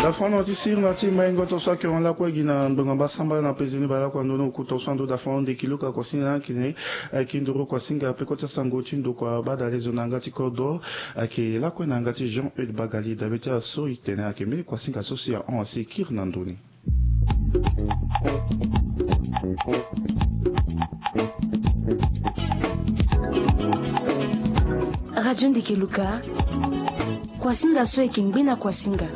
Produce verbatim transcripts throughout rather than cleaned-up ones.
Fano ti sirna ti maingo tonso ayeke hon lakue gi na ngbonga mbasambala na pezeni baleoko ando ni oku tonso ando da fano ndeki luka kuasinga na ayeke ne. Ayeke nduru kuasinga peko ti asango ti ndokua badalezo na yanga ti kodro. Ayeke lakue na yanga ti Jean Eude Bagali dabe ti aso itene ayeke mbeni kuasinga so si ahon asi kiri na ndoni. Radio Ndeke Luka. Kuasinga so ayeke ngbena kuasinga.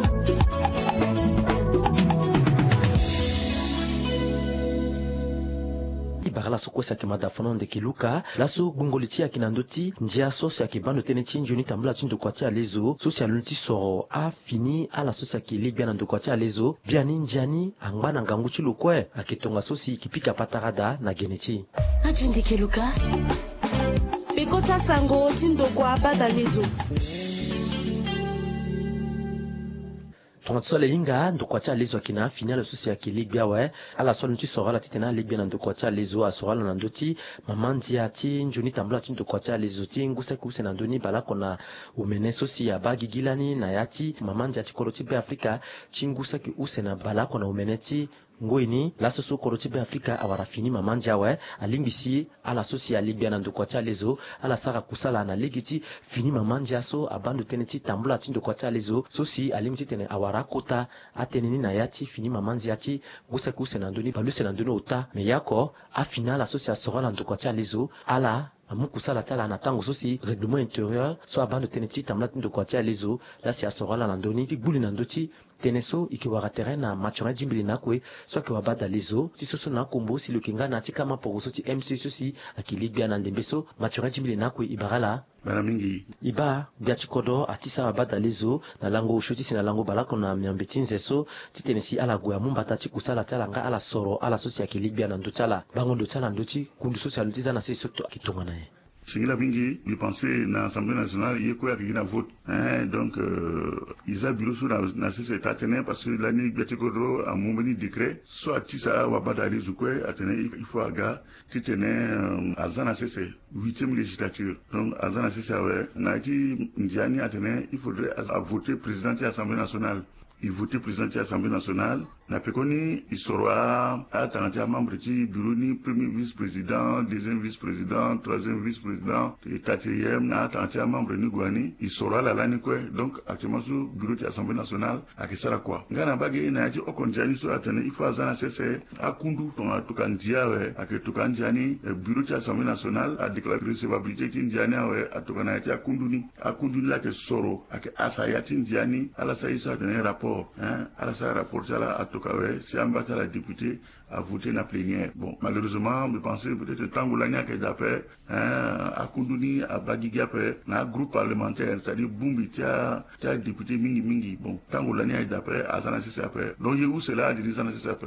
Ibara laso kue si ayeke mada fono ndeke luka laso gbongoli ti ayeke na ndö ti ndia so si ayeke bando tënë ti nzoni tambula ti ndokua ti alezo so si aloni ti soro afini ala so si ayeke legbia na ndokua ti alezo. Biani ndia ni angba na ngangu ti lo kue ayeke tongaso si e ke pika patara daa na gene ti e. Radio Ndeke Luka. Peko ti asango ti ndokua badalezo. Tongaso ala hinga ndokua ti alezo ayeke na afini ala so si ayeke legbia awe. Ala so aloni ti soro ala titene alegbia na ndokua ti alezo asoro ala na ndö ti mama ndia ti nzoni tambula ti ndokua ti alezo ti ngu saki use na ndö ni baleoko na omene so si abaa gigi lani na ya ti mama ndia ti kodro ti Beafrika ti ngu saki use na baleoko na omene ti ngoi ni laso so kodro ti Beafrika awara fini mama ndia awe. Alingbi si ala so si alegbia na ndokua ti alezo ala sara kusala na lege ti fini mama ndia so abaa ndo tënë ti tambula ti ndokua ti alezo so si alingbi titene awara akota atënë ni na ya ti fini mama ndia ti ngu saki use na ndö ni baleuse na ndö ni ota. Me ya oko afini ala so si asoro ala ndokua ti alezo ala amu kusala ti ala na tango so si règlement intérieur so abaa ndo tënë ti tambula ti ndokua ti alezo laa si asoro ala na ndö ni ti gbu li na ndö ti tënë so e ke wara tere na Mathurin Djimbili na akue so ayeke wabadalezo ti so so na akombo si lo yeke nga na ya ti kama poroso ti M C U so si ayeke legbia na ndembe so. Mathurin Djimbili na akue e bara ala. Bana mingi. E baa gbia ti kodro ati sara wabadalezo na lango osio ti si na lango baleoko na miambe ti nze so titene si ala gue amu mbata ti kusala ti ala nga ala soro ala so si ayeke legbia na ndö ti ala bango ndo ti ala ndö ti kundu so si aloni ti za na sese so ayeke tongana nyen? Singila mingi, mbi pense na Assemblée nationale ye kue ayeke gi na vote. Hein, donc, euh, e za bureau so na, na sese taa tënë parce que lani gbia ti kodro amu mbeni décret so atisa wabadalezo kue atene il faut aga titene, euh, aza na sese huitième législature. Donc aza na sese awe na ya ti ndia ni atene il faudrait a, avoter président ti Assemblée nationale. E voter président ti Assemblée nationale. Na pekoni e soro a, atanga ti amembre ti bureau ni, premier vice-président, deuxième vice-président, troisième vice-président, et quatrième, na atanga ti amembre ni gue ni e soro ala lani kue. Donc actuellement so bureau ti Assemblée nationale ayeke sara kua. Nga na mbage na ya ti oko ndia ni so atene il faut aza na sese akundu tongana atuka ndia awe ayeke tuka andia ni, eh, bureau ti Assemblée nationale adéclare recevabilité ti ndia ni awe atuka na ya ti akundu ni. Akundu ni laa ayeke soro ayeke asa ya ti ndia ni ala sara ye so atene rapport, hein, ala sara rapport ti ala atoka awe si amba ti ala député avoté na plénière. Bon, malheureusement mbi pense peut-être tango lani ayeke daa ape, hein, akundu ni abaa gigi ape na agroupe parlementaire, c'est-à-dire bongbi ti a, ti adéputé mingi mingi. Bon, tango lani ayeke daa ape aza na sese ape. Donc ye use laa adi ni za na sese ape.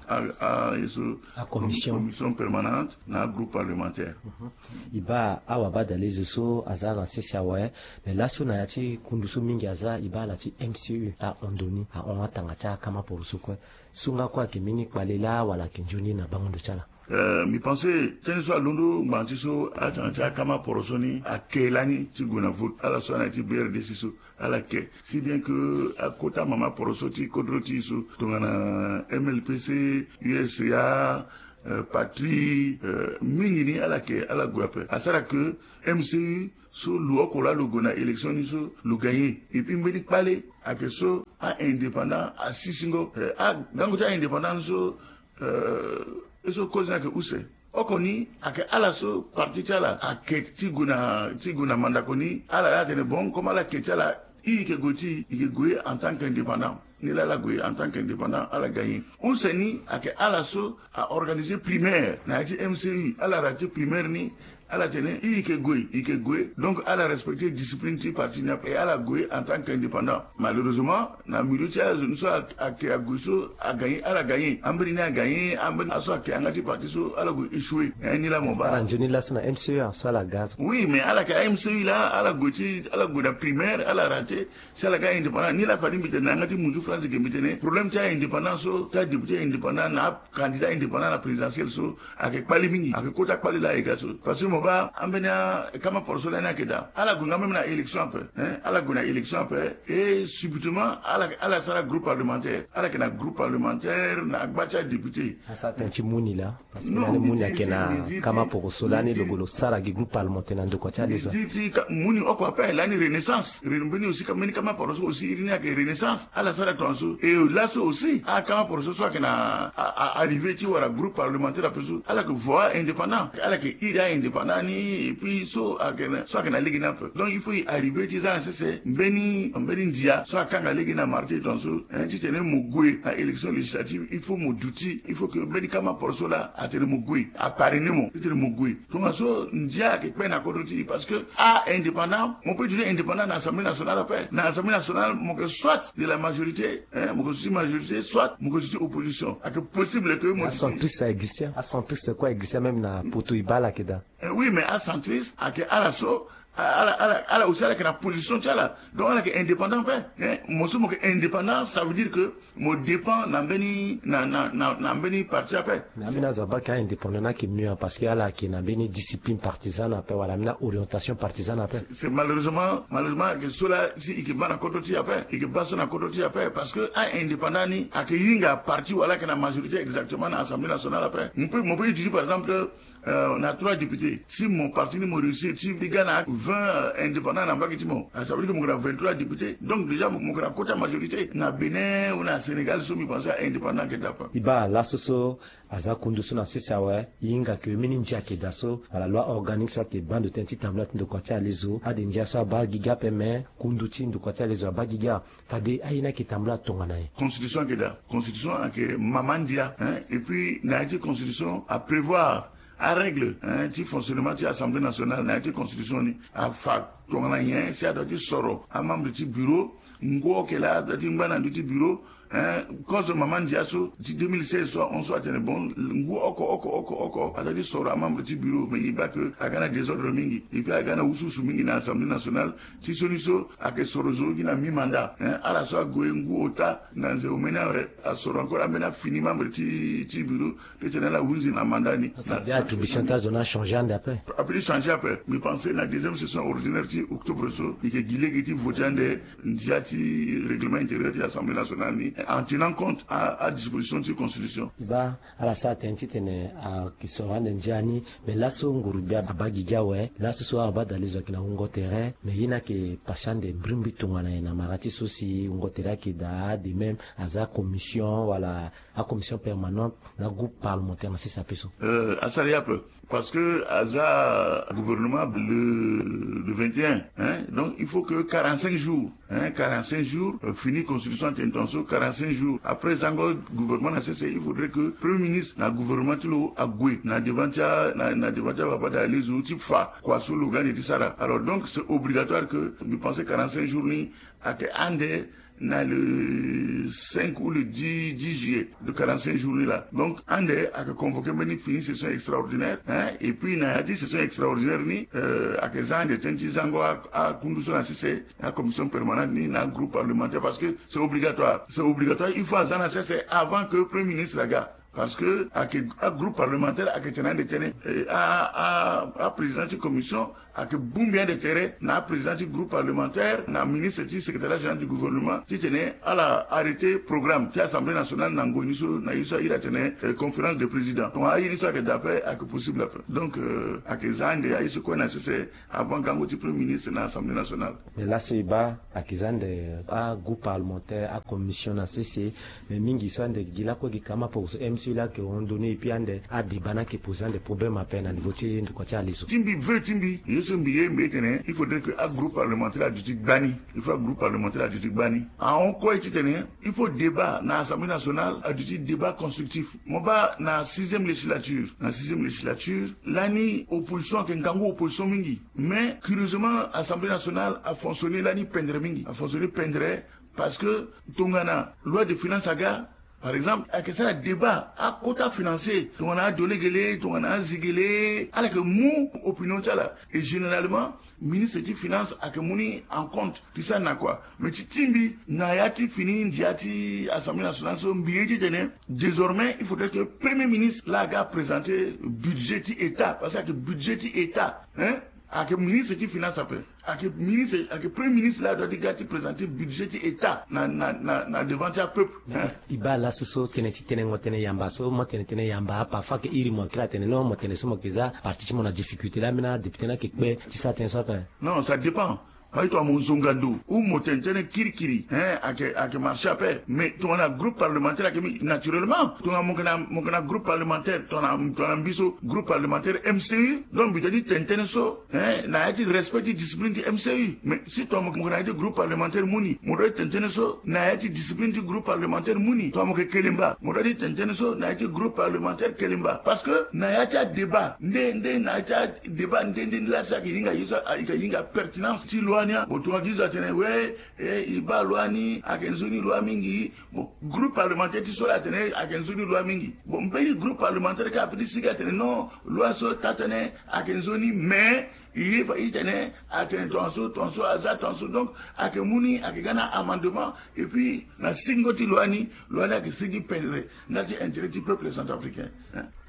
A, a, ye so, commission, commission permanente na agroupe parlementaire. Mhm. E baa awabadalezo so aza na sese awe. Me laso na ya ti kundu so mingi aza, e baa ala ti M C U ahon ndo ni, ahon atanga ti akama poroso kue. So nga kue ayeke mbeni kpale laa wala ayeke nzoni na bango ndo ti ala? Euh, mbi pense tënë so alondo ngbanga ti so atanga ti akama poroso ni ake lani ti gue na vote. Ala so ana ya ti B R D C so ala ke, si bien que akota mama poroso ti kodro ti e so tongana M L P C, U S A, euh, Patrie, euh, mingi ni ala ke, ala gue ape. Asara que M C U so lo oko laa lo gue na élection ni so lo gagné. Et puis mbeni kpale ayeke so a-indépendant asisingo, euh, agango ti a-indépendant ni so, euh, ye so kozo ni ayeke use. Oko ni ayeke ala so parti ti ala ake ti gue na, ti gue na mandako ni, ala laa atene bon comme ala ke ti ala, i yeke gue ti i, i yeke gue en tant qu'indépendant. Ni laa ala gue en tant qu'indépendant, ala gagné. Use ni ayeke ala so a organisé primaire na ya ti M C U, ala raté primaire ni, ala tene i yeke gue, i yeke gue. Donc ala respecté discipline ti parti ni ape, ala gue en tant qu'indépendant. Malheureusement na milieu ti azo ni so a, ake ague so agagné, ala gagné. Ambeni ni agagné, ambeni aso ake yanga ti parti so ala gue échoué. Eh, ni laa mo baa. Ala nzoni laso na M C U aso ala ga so. Oui, mais ala ke a-M C U laa, ala gue ti, ala gue na primaire, ala raté. Si ala ga indépendant, ni laa fade mbi tene na yanga ti munzu France ke mbi tene problème ti a-indépendant so, ti adéputé indépendant na acandidat indépendant na présidentielle so ayeke kpale mingi, ayeke kota kpale laa e ga so. Parce que Mo baa ambeni akama poroso lani ayeke daa. Ala gue nga même na élection ape, hein, ala gue na élection ape. Et subitement ala, ala sara groupe parlementaire. Ala yeke na groupe parlementaire na gba ti adéputé. Asara tënë ti mu ni laa. Parce que lani mu ni ayeke na kama poroso lani lo gue lo sara gi groupe parlementaire na ndokua ti alezo. Mbi di ti ka mu ni oko ape lani Renaissance. Re- mbeni aussi ka- mbeni kama poroso aussi iri ni ayeke Renaissance. Ala sara tongaso. Et laso aussi akama poroso so ayeke na a- a- arrivé ti wara groupe parlementaire ape so, ala yeke voie indépendant. Ala yeke iri a-indépendant ni. Et puis so ayeke na- so ayeke na lege ni ape. Donc il faut e arrivé ti za na sese mbeni mbeni ndia so akanga lege na marché tongaso, hein, titene mo gue na élection législative, il faut mo duti. Il faut que mbeni kama poroso laa atene mo gue, aparrainé mo titene mo gue. Tongaso ndia ayeke kpe na kodro ti e. Parce que a-indépendant, mo peut dire indépendant na assemblée nationale ape. Na assemblée nationale mo yeke soit de la majorité, hein, mo yeke zo ti majorité, soit mo yeke zo ti opposition. Ayeke possible que mo- Acentriste a existe. Acentriste kue a existe même na poto, e baa ala yeke daa. Eh oui, mais acentriste ayeke ala so, ala ala ala aussi ala yeke na position ti ala. Donc ala yeke indépendant ape, hein. Mo so mo yeke indépendant, ça veut dire que mo dépend na mbeni na na na na mbeni parti ape. Mais ambeni azo abaa ke a-indépendant ni ayeke mieux, parce que ala yeke na mbeni discipline partisane ape wala ambeni a-orientation partisane ape. C'est malheureusement, malheureusement ayeke so laa si e yeke baa na kodro ti e ape, e yeke baa so na kodro ti e ape. Parce que a-indépendant ni ayeke hinga parti wala ayeke na majorité exactement na assemblée nationale ape. Mo peut mo peut dire par exemple, euh, na trois députés. Si mo parti ni mo réussir ti e ga na vingt, euh, indépendant na mbage ti mo, ah, ça veut dire que mo yeke na vingt-trois députés. Donc déjà mo mo yeke na kota majorité. Na Bénin ou na Sénégal so mbi pense a-indépendant ayeke daa ape. E baa laso so aza kundu so na sese awe, e hinga ke mbeni ndia ayeke daa so wala loi organique so ayeke baa ndo tënë ti tambula ti ndokua ti alezo. Ade ndia so abaa gi ga ape, me kundu ti ndokua ti alezo abaa gi ga. Fade aye ni ayeke tambula tongana nyen? Constitution ayeke daa. Constitution ayeke mama ndia, hein. Et puis na ya ti constitution aprévoir arègle, hein, ti fonctionnement ti assemblée nationale na ya ti constitution ni. Afa tongana nyen si adua ti soro amembre ti bureau. Ngu oke laa adua ti ngba na ndö ti bureau, hein. Kozo mama ndia so ti deux mille seize so ahon so atene bon, ngu oko oko oko oko adua ti soro amembre ti bureau. Mais e baa ke aga na désordre mingi. E puis aga na wusuwusu mingi na assemblée nationale. Ti sioni so ayeke soro zo gi na mi mandat, hein. Ala so ague ngu ota na nze omeni awe, asoro encore ambeni afini membre ti ti bureau ti tene ala hunzi na mandat ni. Attribution ti azo ni achangé ande ape. Ape ti changé ape. Mbi pense na deuxième session ordinaire ti octobre so e yeke gi lege ti voté ande ndia ti règlement intérieur ti assemblée nationale ni, en tenant compte a adisposition ti constitution. Baa ala sara tënë titene ayeke soro ande ndia ni. Mais laso nguru gbia abaa gigi awe, laso so abaa dalizo ayeke na wungo tere. Mais ye ni ayeke pasi ande mbirimbiri tongana nyen na mara ti so si wungo tere ayeke daa? De même aza commission wala acommission permanente na groupe parlementaire na sese ape so? Euh, asara ye ape. Parce que aza gouvernement le, le vingt et un, hein? Donc il faut que quarante-cinq jours, hein, quarante-cinq jours, euh, fini constitution atene tongaso, quarante-cinq jours après zango gouvernement na sese, il faudrait que premier ministre na gouvernement ti lo ague na devant ti a na, na devant ti ababa dalizo ti fa kua so lo ga ande ti sara. Alors donc c'est obligatoire que mbi pense quarante-cinq jours ni ayeke ande na le cinq ou le dix, dix juillet, de quarante-cinq jours ni laa. Donc ande ayeke convoqué mbeni fini session extraordinaire, hein. Et puis na ya ti session extraordinaire ni, euh, ayeke za ande tënë ti zango a, akundu so na sese, acommission permanente ni na groupe parlementaire, parce que c'est obligatoire, c'est obligatoire, il faut aza na sese avant que premier ministre aga. Parce que ayeke agroupe parlementaire ayeke tene ande tene, eh, a, a, aprésident ti commission ayeke bongbi ande tere na aprésident ti groupe parlementaire, na ministre ti secrétariat général du gouvernement, titene ala arrêté programme ti assemblée nationale na ngoi ni so na ye so a iri atene, eh, conférence de président. Donc aye ni so ayeke daa ape, ayeke possible ape. Donc, euh, ayeke za ande aye so kue na sese avant gango ti premier ministre na assemblée nationale. Mais laso e baa ayeke za ande agroupe parlementaire, acommission na sese. Mais mingi so ande gi lakue gi kama poko so M C U laa ayeke hon donné, et puis ande adébat ni ayeke posé ande problème ape na niveau ti ndokua ti alezo. Ti mbi vœu ti mbi, ye so mbi ye mbi ye tene il faudrait que agroupe parlementaire aduti gbani. Il faut agroupe parlementaire aduti gbani. Ahon kue titene il faut débat na assemblée nationale aduti débat constructif. Mo baa na sixième législature, na sixième législature lani opposition ayeke ngangu opposition mingi. Mais curieusement assemblée nationale afonctionné lani pendre mingi, afonctionné pendre. Parce que tongana loi de finance aga, Par exemple, ayeke sara débat akota financier tongana adolege le tongana azege le, ala yeke mu opinion ti ala. Et généralement, ministre ti finance ayeke mu ni en compte ti sara na kua. Mais ti tingbi na ya ti fini ndia ti Assemblée nationale so mbi ye ti tene désormais il faudrait que premier ministre laa aga présenter budget ti état, parce que ayeke budget ti état, hein. Ayeke ministre ti finance ape, ayeke ministre, ayeke premier ministre laa doit ti ga ti présenter budget ti état na na na na devant ti apeuple, hein. E baa laso so tënë ti tenengo tënë yamba so mo tene tënë yamba, parfois ayeke iri mo, akiri atene non, mo tene so mo yeke za parti ti mo na difficulté laa, ambeni adéputé ni ayeke kpe ti sara tënë so ape. Non, ça dépend. Aye tongana mo zonga ndo ou mo tene tënë kirikiri, hein, ayeke ayeke marché ape. Mais tongana groupe parlementaire ayeke mingi naturellement, tongana mo yeke na mo yeke na groupe parlementaire tongana tongana mbi so groupe parlementaire M C U, donc mbi doit ti tene tënë so, hein, na ya ti respect ti discipline ti M C U. Mais si tongana mo yeke na ya ti groupe parlementaire mu ni, mo doit ti tene tënë so na ya ti discipline ti groupe parlementaire mu ni. Tongana mo yeke kelemba, mo doit ti tene tënë so na ya ti groupe parlementaire kelemba. Parce que na ya ti adébat nde nde na ya ti adébat nde nde nde laa si ayeke hinga ye so ayeke hinga pertinence ti loi ni. Bon, tongana gi zo atene we, e, e baa loi ni ayeke nzoni loi mingi. Bon, groupe parlementaire ti so laa atene ayeke nzoni loi mingi. Bon, mbeni groupe parlementaire kâ apeut ti sigi atene non, loi so taa tënë ayeke nzoni, mais e ye fa ti tene atene tongaso tongaso aza tongaso. Donc ayeke mu ni ayeke ga na amendement. Et puis na singo ti loi ni, loi ni ayeke sigi pendre nga ti intérêt ti peuple centrafricain.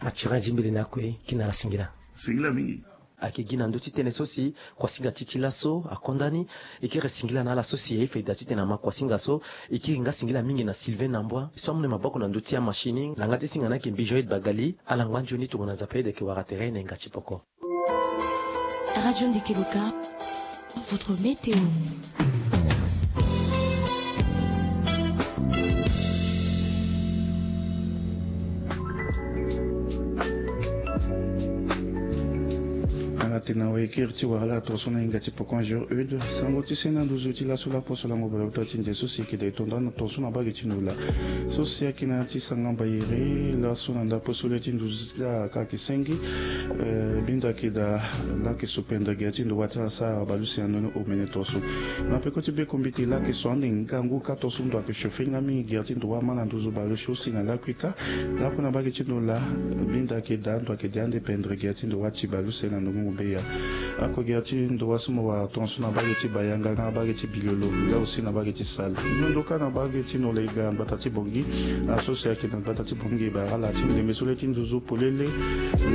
Mathurin Zimbili na kue, ki na ala singila. Singila mingi. Ayeke gi na ndö ti tënë so si kuasinga ti ti laso akonda ni. E kiri singila na ala so si e ye faida titene ama kuasinga so. E kiri nga singila mingi na Sylvain Nambwa so amu na e maboko na ndö ti amachine ni, na yanga ti singa ni ayeke mbi Joël Bagali. Ala ngba nzoni tongana Nzapa aye ede ayeke wara tere na yanga ti poko. Radio Ndeke Loka, votre météo. Ala tene na wekiri ti wara la tongaso na hinga ti poko jour eude sango ti sena nduzu ti laso laposo lango baleota ti ndia so si yeke da e tonda na tongaso na bage ti ndola. So si ayeke na ya ti sanga mbayere laso na ndapo so le ti nduzu ti la ka ayeke senge. Eh, bindo ayeke daa laa ayeke so pendere gere ti ndo wâ ti asara baleuse na ndoni omene tongaso. Na peko ti bekombiti laa ayeke so ande ngangu ka tongaso ndo ayeke chauffe nga mingi gere ti ndo wâ ama na nduzu baleuse aussi na lakui ka. Lakui na bage ti ndo laa bindo ayeke daa ndo ayeke de ande pendere gere ti ndo wâ ti baleuse na ndongo ngombe ya. Ako gere ti ndo wâ so mo wara tongaso na bage ti bayanga nga na bage ti bilolo nga aussi na bage ti sal. Ndondo ka na bage ti ndo la e ga na gbata ti bongi. Na so si ayeke na gbata ti bongi e bara ala ti ndembe so le ti nduzu polele.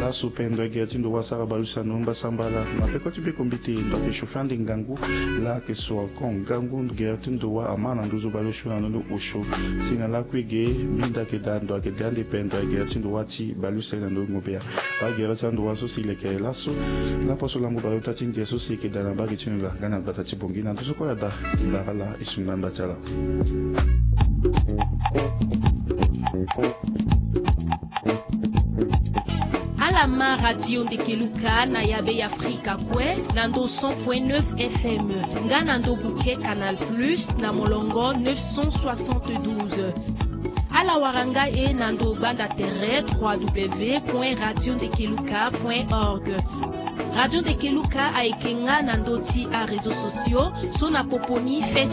Laso pendere gere ti ndo wâ asara baleuse na ndoni mbasambala. Na peko ti bekombiti ndo ayeke chauffe ande ngangu laa ayeke so ako ngangu gere ti ndo wâ ama na nduzu baleuse na ndoni osio. Si na lakui ge bindo ayeke daa ndo ayeke de ande pendere gere ti ndo wâ ti baleuse na ndoni ngombe ya. Bagere ti ando wâ so si leke laso. Laposo lango baleota ti ndia so si yeke daa na bage ti ndo la nga na gbata ti bongi na ndo so kue ada. Ndara ala e sungula nda ti ala. Ala ma Radio Ndeke Luka na yabe ya Afrika kue na ndo cent point neuf F M nga na ndo buke Canal Plus na molongo neuf cent soixante-douze. Ala wara nga e na ndo gbanda tere trois W point radio ndeke luka point org. Radio Ndeke Luka ayeke nga na ndo ti aréseaux sociaux so na popo ni Facebook.